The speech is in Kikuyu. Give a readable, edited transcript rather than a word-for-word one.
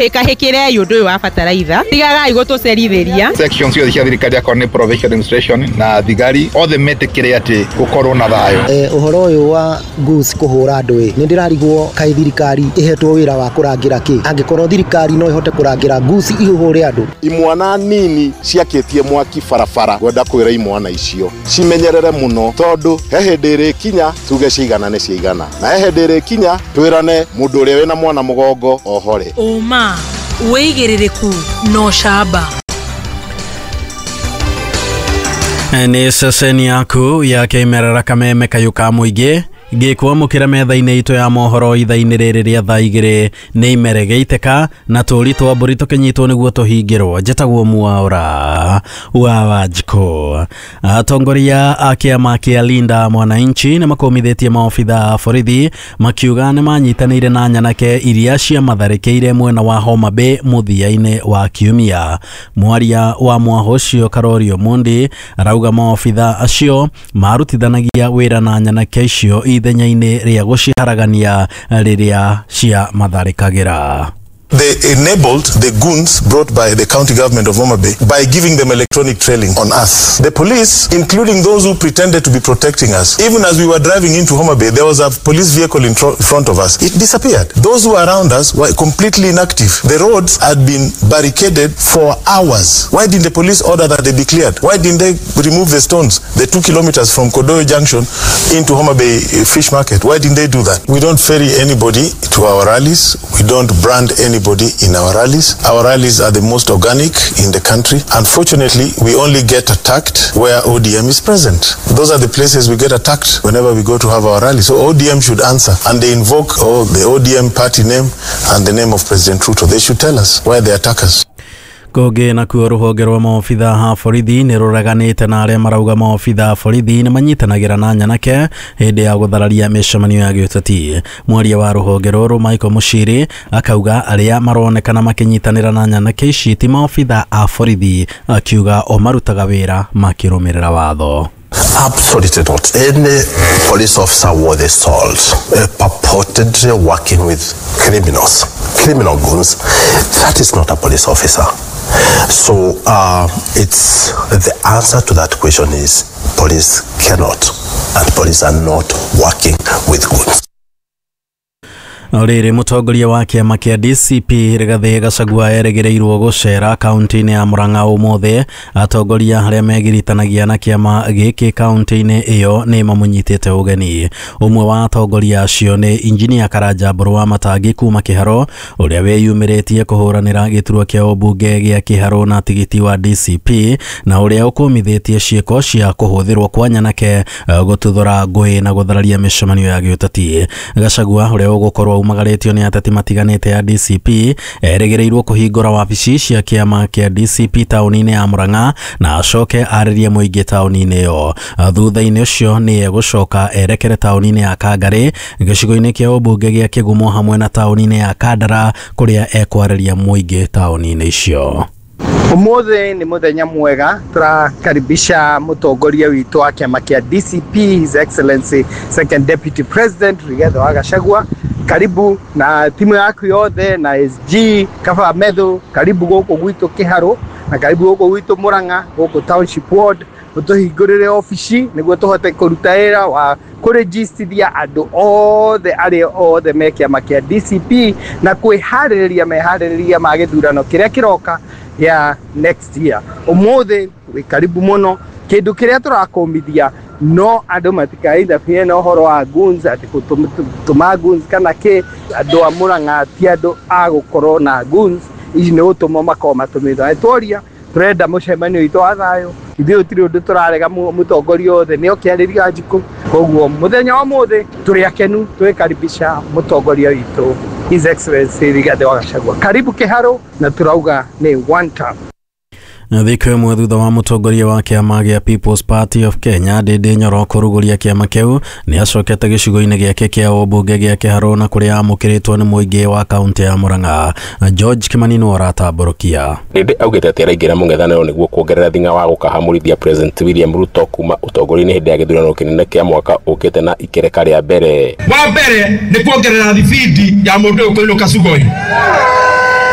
Hĩkahĩkĩrei ũndũ ũyũ wa bataraitha, tigagai gũtũcerithĩria. Section ciothe cia thirikari akorwo nĩ provincial administration na thigari othe metĩkĩre atĩ gũkorwo na thayũ. Ũhoro ũyũ wa goons kũhũra andũ ĩ, nĩ ndĩrarigwo kaĩ thirikari ĩhetwo wĩra wa kũrangĩra kĩ? Angĩkorwo thirikari no ĩhote kũrangĩra goons ihũre andũ. Imwana nini ciakĩtie mwaki barabara, ngwenda kwĩra imwana icio cimenyerere mũno, tondũ he hĩndĩ ĩrĩkinya tuge ciigana nĩ ciigana, na he hĩndĩ ĩrĩkinya twĩrane mũndũ ũrĩa wĩna mwana mũgongo ohore. Ũma, wĩigĩrĩrĩku na ũcamba. Nĩ ceceni yaku ya kĩmerera kameme kayũ ka mũingĩ ngĩkwamũkĩra metha-inĩ itũ ya mohoro ithaa-inĩ rĩrĩ rĩa thaa igĩrĩ nĩ imere gĩitĩka na tũri twa mbũri tũkĩnyitwo nĩguo tũhingĩrwo. Njĩtagwo Mwaũra wa Wanjikũ. Atongoria a kĩama kĩa Linda Mwananchi nĩ makũmithĩtie maobitha a borithi makiuga nĩ manyitanĩire na nyanake iria ciamatharĩkĩire mwena wa Homa Bay mũthia-inĩ wa kiumia. Mwaria wa mwaho ũcio Karorio Mundi arauga maobitha acio marutithanagia wĩra na nyanake icio ithenya-inĩ rĩa gũciharagania rĩrĩa ciamatharĩkagĩra. They enabled the goons brought by the county government of Homa Bay by giving them electronic trailing on us. The police, including those who pretended to be protecting us, even as we were driving into Homa Bay, there was a police vehicle in front of us. It disappeared. Those who were around us were completely inactive. The roads had been barricaded for hours. Why didn't the police order that they be cleared? Why didn't they remove the stones, the 2 kilometers from Kodoyo Junction into Homa Bay Fish Market? Why didn't they do that? We don't ferry anybody to our rallies. We don't brand anybody in our rallies. Our rallies are the most organic in the country. Unfortunately, we only get attacked where ODM is present. Those are the places we get attacked whenever we go to have our rally. So ODM should answer, and they invoke the ODM party name and the name of President Ruto. They should tell us why they attack us. Kũngĩ nakuo rũhonge rwa maobitha a borithi nĩ rũreganĩte na arĩa marauga maobitha a borithi nĩ manyitanagĩra na nyanake hĩndĩ ya gũthararia mĩcemanio ya gĩũteti. Mwaria wa rũhonge rũrũ Michael Mushiri akauga arĩa maronekana makĩnyitanĩra na nyanake ici ti maobitha a borithi, akiuga o marutaga wĩra makĩrũmĩrĩra watho. Absolutely not. Any police officer worth his salt purportedly working with criminals, criminal goons, that is not a police officer. So it's the answer to that question is police cannot, and police are not working with goons. Rĩrĩ mũtongoria wa kĩama kĩa DCP Rigathĩ Gachagua erĩgĩrĩirwo gũcera kaunti-inĩ ya Murang'a ũmũthĩ. Atongoria arĩa megiritanagia na kĩama gĩkĩ kaunti-inĩ ĩyo nĩ mamũnyitĩte ũgeni. Ũmwe wa atongoria acio nĩ Injinia Karanja Mbũrũ wa Matangi kuma Kĩharo, ũrĩa wĩyumĩrĩtie kũhũranĩra gĩturwa kĩa ũmbunge gĩa Kĩharo na tigiti wa DCP, na ũrĩa ũkũmithĩtie ciĩko cia kũhũthĩrwo kwa nyanake gũtuthũra ngũĩ na gũthararia mĩcemanio ya gĩũteti. Gachagua ũrĩa ũgũkorwo umagarĩtio nĩ ateti matiganĩte ya DCP erĩgĩrĩirwo kũhingũra wabici cia kĩama kĩa DCP taũni-inĩ ya Murang'a na acoke arĩrie mũingĩ taũni-inĩ ĩyo. Thutha-inĩ ũcio nĩ egũcoka erekere taũni-inĩ ya Kangarĩ gĩcigo-inĩ kĩa ũmbunge gĩa Kĩgumo hamwe na taũni-inĩ ya Kandara kũrĩa ekwarĩria mũingĩ taũni-inĩ icio. Ũmũthĩ nĩ mũthenya mwega, tũrakaribisha mũtongoria witũ wa kĩama kĩa DCP, His Excellency Second Deputy President Rigathi wa Gachagua. Karibu na timu yaku yothe na SG Kaba Methu, karibu gũkũ gwitũ Kĩharũ na karibu gũkũ gwitũ Murang'a, gũkũ Township Ward, ũtũhingũrĩre obici nĩguo tũhote kũruta wĩra wa kũrĩgistithia andũ othe arĩa othe me kĩama kĩa DCP na kwĩharĩrĩria meharĩrĩria ma gĩthurano kĩrĩa kĩroka ya next year. Ũmũthĩ wĩ karibu mũno, kĩndũ kĩrĩa tũrakũmithia no andũ matikainterfere na ũhoro wa goons, atĩ gũtũma goons kana kĩ. Andũ a Murang'a ti andũ a gũkorwo na goons, ici nĩ gũtũmwo makorwo matũmĩtwo. Tworia tũrenda mũcemanio witũ wa thayũ, ithuĩ gũtirĩ ũndũ tũrarega mũtongoria othe nĩ oke arĩria Wanjikũ. Koguo mũthenya wa ũmũthĩ tũrĩ akenu twĩkaribisha mũtongoria witũ His Excellency Rigathi wa Gachagua. Karibu Kĩharũ, na tũrauga nĩ one term. Thikũ ĩmwe thutha wa mũtongoria wa kĩama gĩa People's Party of Kenya Ndindi Nyoro kũrugũria kĩama kĩu, nĩ acokete gĩcigo-inĩ gĩake kĩa ũmbunge gĩa Kĩharũ na kũrĩa amũkĩrĩtwo nĩ mũingĩ wa kaunti ya Murang'a. George Kimani nĩwe ũratambũrũkia. Ndindi augĩte atĩ araingĩra mũng'ethanĩro nĩguo kuongerera thing'a wa gũkahamũrithia President William Ruto kuma ũtongoria-inĩ hĩndĩ ya gĩthurano kĩnene kĩa mwaka ũkĩte na ikereka rĩa mbere. Wa mbere nĩ kuongerera thibindi ya mũndũ ũyũ kũinũka Sugoi.